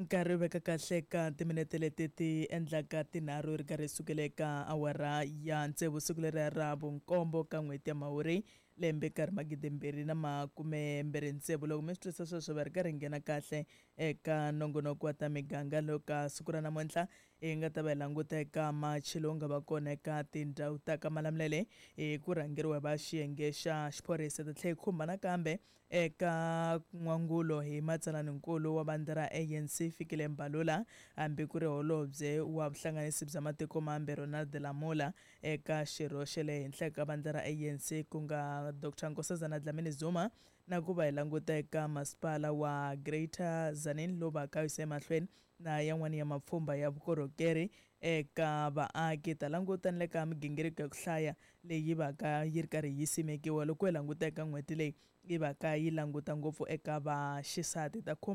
Nkarhi wu veka kahle ka timinete leti ti endlaka 3 ri karhi sukela eka awara ya 6 siku leri ra vunkombo ka n'hweti ya Mhawuri lembe karhi 2026. Loko mi swi twisisa sweswo va ri karhi nghena kahle eka nongonoko wa ta miganga loko siku ra namuntlha hi nga ta va hi languta eka machi lowu nga va kona eka tindhawu ta ka Malamulele hi ku rhangeriwa hi va xiyenge xa xiphorisa. Ta tlhela hi khumba nakambe eka n'wangulo hi matsalaninkulu wa vandla ra ANC Fikile Mbalula, hambi ku ri holobye wa vuhlanganisi bya matiko mambe Ronald Lamola eka xirho xa le henhla ka vandla ra ANC ku nga Dr Nkosazana Dlamini Zuma, na ku va hi languta eka masipala wa Greater Tzaneen lowu va ka yisa emahlweni na yan'wana ya mapfhumba ya vukorhokeri eka vaaki. Ta languta ni le ka migingiriko ya ku hlaya leyi va ka yi ri karhi yi simekiwa loko hi languta eka n'hweti leyi yi va ka yi languta ngopfu eka vaxisati. Ta khumba